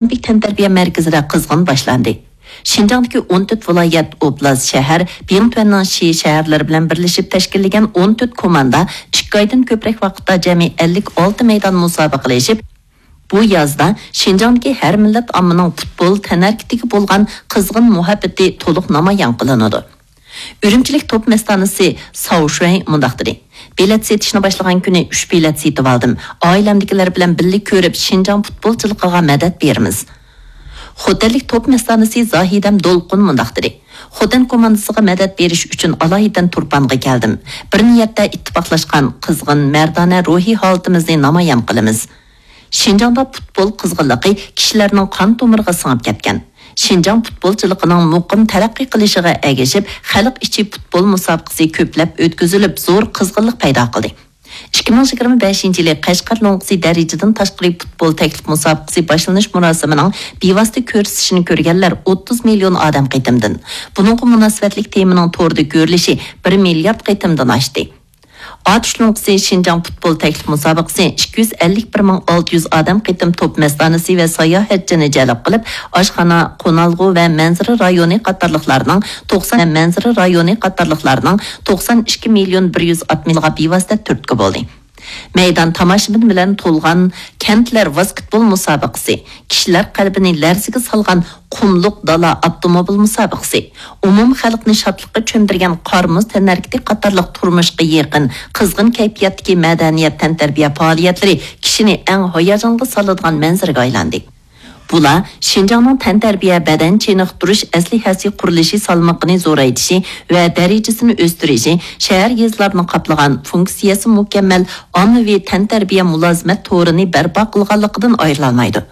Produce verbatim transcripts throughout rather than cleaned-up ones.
ئولىمپىك تەنتەربىيە مەركىزىدە قىزغىن باشلاندى. شىنجاڭدىكى ئون تۆت ۋىلايەت، ئوبلاست، شەھەر، بىڭتۈەننىڭ شى شەھەرلىرى بىلەن بىرلىشىپ تەشكىللىگەن ئون تۆت كوماندا ئىككى ئايدىن كۆپرەك ۋاقىتتا جەمئىي ئەللىك ئالتە مەيدان مۇسابىقىلىشىپ، بۇ يازدا شىنجاڭدىكى ھەر مىللەت ئاممىنىڭ پۇتبول تەنھەرىكىتىگە بولغان قىزغىن مۇھەببىتى تولۇق نامايان قىلىنىدۇ. ئۈرۈمچىلىك توپ مەستانىسى ساۋ شۈەي مۇنداق دېدى: بېلەت سېتىشنى باشلىغان كۈنى ئۈچ بېلەت سېتىۋالدىم. ئائىلەمدىكىلەر بىلەن بىللە كۆرۈپ، شىنجاڭ پۇتبولچىلىقىغا مەدەت بېرىمىز. خوتەنلىك توپ مەستانىسى زاھىدەم دولقۇن مۇنداق دېدى: خوتەن كوماندىسىغا مەدەت بېرىش ئۈچۈن ئالايىتەن تۇرپانغا كەلدىم. بىر نىيەتتە ئىتتىپاقلاشقان، قىزغىن، مەردانە روھىي ھالىتىمىزنى نامايان قىلىمىز. شىنجاڭدا پۇتبول قىزغىنلىقى كىشىلەرنىڭ قان تومۇرىغا سىڭىپ كەتكەن. شىنجاڭ پۇتبولچىلىقىنىڭ مۇقىم تەرەققىي قىلىشىغا ئەگىشىپ، خەلق ئىچى پۇتبول مۇسابىقىسى كۆپلەپ ئۆتكۈزۈلۈپ، زور قىزغىنلىق پەيدا قىلدى. ئىككى مىڭ يىگىرمە بەشىنچى يىلى قەشقەر لوڭقىسى دەرىجىدىن تاشقىرى پۇتبول تەكلىپ مۇسابىقىسى باشلىنىش مۇراسىمىنىڭ بىۋاسىتە كۆرسىتىشىنى كۆرگەنلەر ئوتتۇز مىليون ئادەم قېتىمدىن، بۇنىڭغا مۇناسىۋەتلىك تېمىنىڭ توردا كۆرۈلۈشى بىر مىليارد قېتىمدىن ئاشتى. ئاتۇش لوڭقىسى شىنجاڭ پۇتبول تەكلىپ مۇسابىقىسى ئىككى يۈز ئەللىك بىر مىڭ ئالتە يۈز ئادەم قېتىم توپ مەستانىسى ۋە ساياھەتچىنى جەلپ قىلىپ، ئاشخانا، قونالغۇ ۋە مەنزىرە رايونى قاتارلىقلارنىڭ توقسان، مەنزىرە رايونى قاتارلىقلارنىڭ توقسان ئىككى مىليون بىر يۈز ئاتمىشىغا بىۋاسىتە تۈرتكە بولدى. مەيدان تاماشىبىن بىلەن تولغان كەنتلەر ۋاسكېتبول مۇسابىقىسى، كىشىلەر قەلبىنى لەرزىگە سالغان قۇملۇق دالا ئاپتوموبىل مۇسابىقىسى، ئومۇم خەلقنى شادلىققا چۆمدۈرگەن قار-مۇز تەنھەرىكىتى قاتارلىق تۇرمۇشقا يېقىن، قىزغىن كەيپىياتتىكى مەدەنىيەت تەنتەربىيە پائالىيەتلىرى كىشىنى ئەڭ ھاياجانغا سالىدىغان مەنزىرىگە ئايلاندى. بۇلار شىنجاڭنىڭ تەنتەربىيە، بەدەن چېنىقتۇرۇش ئەسلىھەسى قۇرۇلۇشى سالمىقىنى زورايتىشى ۋە دەرىجىسىنى ئۆستۈرۈشى، شەھەر، يېزىلارنى قاپلىغان، فۇنكسىيەسى مۇكەممەل ئاممىۋى تەنتەربىيە مۇلازىمەت تورىنى بەرپا قىلغانلىقىدىن ئايرىلالمايدۇ.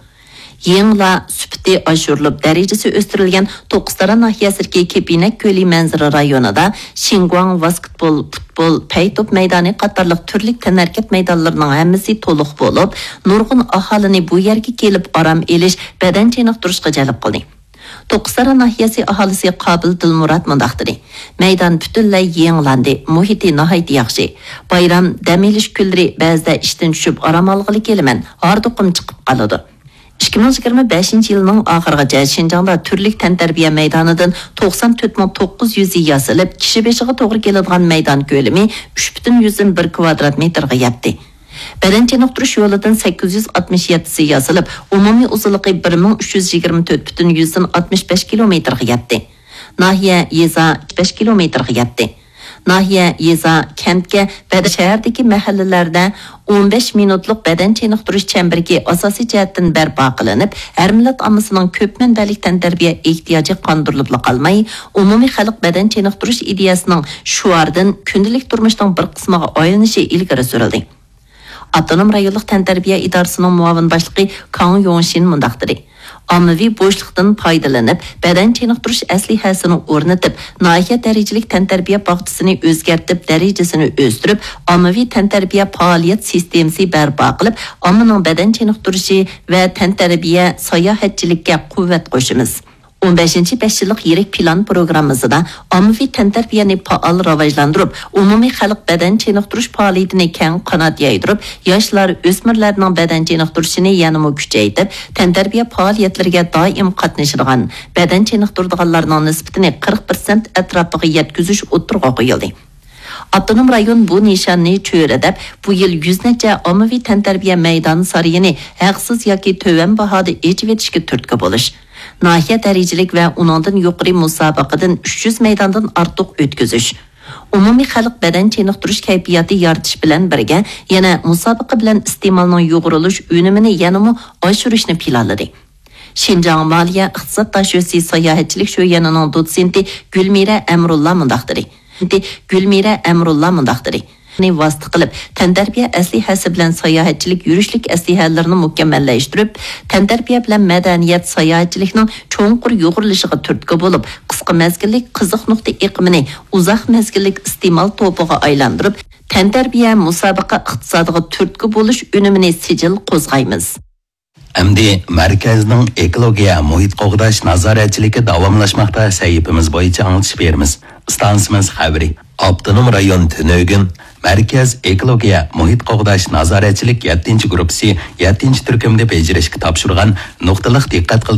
يېڭىلار سۈپىتى ئاشۇرۇلۇپ، دەرىجىسى ئۆستۈرۈلگەن توققۇزتارا ناھىيەسىدىكى كېپىنەك كۆلى مەنزىرە رايونىدا شىنگۇاڭ ۋاسكېتبول، پۇتبول، پەي توپ مەيدانى قاتارلىق تۈرلۈك تەنھەرىكەت مەيدانلىرىنىڭ ھەممىسى تولۇق بولۇپ، نۇرغۇن ئاھالىنى بۇ يەرگە كېلىپ ئارام ئېلىش، بەدەن چېنىقتۇرۇشقا جەلپ قىلدى. توققۇزتارا ناھىيەسى ئاھالىسى قابىل دىلمۇرات مۇنداق دېدى: مەيدان پۈتۈنلەي يېڭىلاندى، مۇھىتى ناھايىتى ياخشى. بايرام، دەم ئېلىش كۈنلىرى بەزىدە ئىشتىن چۈشۈپ ئارام ئالغىلى كېلىمەن، ھاردۇقۇم چىقىپ قالىدۇ. ئىككى مىڭ يىگىرمە بەشىنچى يىلنىڭ ئاخىرىغىچە شىنجاڭدا تۈرلۈك تەنتەربىيە مەيدانىدىن توقسان تۆت مىڭ توققۇز يۈز ياسىلىپ، كىشى بېشىغا توغرا كېلىدىغان مەيدان كۆلىمى ئۈچ پۈتۈن يۈزدىن بىر كىۋادرات مېتىرغا يەتتى. بەدەن چېنىقتۇرۇش يولىدىن سەككىز يۈز ئاتمىش يەتتىسى ياسىلىپ، ئومۇمىي ئۇزۇنلۇقى بىر مىڭ ئۈچ يۈز يىگىرمە تۆت پۈتۈن يۈزدىن ئاتمىش بەش كىلومېتىرغا يەتتى. ناھىيە، يېزا، بەش كىلومېتىرغا يەتتى. ناھىيە، يېزا، كەنتكە ۋە شەھەردىكى مەھەللىلەردە ئون بەش مىنۇتلۇق بەدەن چېنىقتۇرۇش چەمبىرىكى ئاساسىي جەھەتتىن بەرپا قىلىنىپ، ھەر مىللەت ئاممىسىنىڭ كۆپ مەنبەلىك تەنتەربىيە ئېھتىياجى قاندۇرۇلۇپلا قالماي، ئومۇمىي خەلق بەدەن چېنىقتۇرۇش ئىدىيەسىنىڭ شوئاردىن كۈندىلىك تۇرمۇشنىڭ بىر قىسمىغا ئايلىنىشى ئىلگىرى سۈرۈلدى. ئاپتونوم رايونلۇق تەنتەربىيە ئىدارىسىنىڭ مۇئاۋىن باشلىقى كاڭ يوڭشىن مۇنداق دېدى: ئاممىۋى بوشلۇقتىن پايدىلىنىپ، بەدەن چېنىقتۇرۇش ئەسلىھەسىنى ئورنىتىپ، ناھىيە دەرىجىلىك تەنتەربىيە باغچىسىنى ئۆزگەرتىپ، دەرىجىسىنى ئۆستۈرۈپ، ئاممىۋى تەنتەربىيە پائالىيەت سىستېمىسى بەرپا قىلىپ، ئاممىنىڭ بەدەن چېنىقتۇرۇشى ۋە تەنتەربىيە، ساياھەتچىلىككە قۇۋۋەت قوشىمىز. ئون بەشىنچى بەش يىللىق يىرىك پىلان پروگراممىسىدا ئاممىۋى تەنتەربىيەنى پائال راۋاجلاندۇرۇپ، ئومۇمىي خەلق بەدەن چېنىقتۇرۇش پائالىيىتىنى كەڭ قانات يايدۇرۇپ، ياشلار، ئۆسمۈرلەرنىڭ بەدەن چېنىقتۇرۇشىنى يەنىمۇ كۈچەيتىپ، تەنتەربىيە پائالىيەتلىرىگە دائىم قاتنىشىدىغان، بەدەن چېنىقتۇرىدىغانلارنىڭ نىسبىتىنى قىرىق پىرسەنت ئەتراپىغا يەتكۈزۈش ئوتتۇرىغا قويۇلدى. ئاپتونوم رايون بۇ نىشاننى چۆرىدەپ، بۇ يىل يۈز نەچچە ئاممىۋى تەنتەربىيە مەيدان سارىيىنى ھەقسىز ياكى تۆۋەن باھادا ئېچىۋېتىشكە تۈرتكە بولۇش، ناھىيە دەرىجىلىك ۋە ئۇنىڭدىن يۇقىرى مۇسابىقىدىن ئۈچ يۈز مەيداندىن ئارتۇق ئۆتكۈزۈش، ئومۇمىي خەلق بەدەن چېنىقتۇرۇش كەيپىياتى يارىتىش بىلەن بىرگە، يەنە مۇسابىقە بىلەن ئىستېمالنىڭ يۇغۇرۇلۇش ئۈنۈمىنى يەنىمۇ ئاشۇرۇشنى پىلانلىدى. شىنجاڭ مالىيە ئىقتىساد داشۆسى ساياھەتچىلىك شۆيەنىنىڭ دوتسېنتى گۈلمىرە ئەمرۇللا مۇنداق دېدى. گۈلمىرە ئەمرۇللا مۇنداق دېدى. نى ۋاسىتە قىلىپ، تەنتەربىيە ئەسلىھەسى بىلەن ساياھەتچىلىك يۈرۈشلۈك ئەسلىھەلىرىنى مۇكەممەللەشتۈرۈپ، تەنتەربىيە بىلەن مەدەنىيەت ساياھەتچىلىكنىڭ چوڭقۇر يۇغۇرۇلۇشىغا تۈرتكە بولۇپ، قىسقا مەزگىللىك قىزىق نۇقتا ئېقىمىنى ئۇزاق مەزگىللىك ئىستېمال توپىغا ئايلاندۇرۇپ، تەنتەربىيە مۇسابىقە ئىقتىسادىغا تۈرتكە بولۇش ئۈنۈمىنى سىجىل قوزغايمىز. ئەمدى مەركەزنىڭ ئېكولوگىيە مۇھىت قوغداش نازارەتچىلىكى داۋاملاشماقتا سەھىپىمىز بويىچە ئاڭلىتىش بېرىمىز. ئىستانسىمىز خەۋىرى. ئاپتونوم رايون تۈنۈگۈن مەركەز ئېكولوگىيە مۇھىت قوغداش نازارەتچىلىك يەتتىنچى گۇرۇپپىسى يەتتىنچى تۈركۈمدە بېجىرىشكە تاپشۇرغان نۇقتىلىق دىققەت قىلدۇرۇش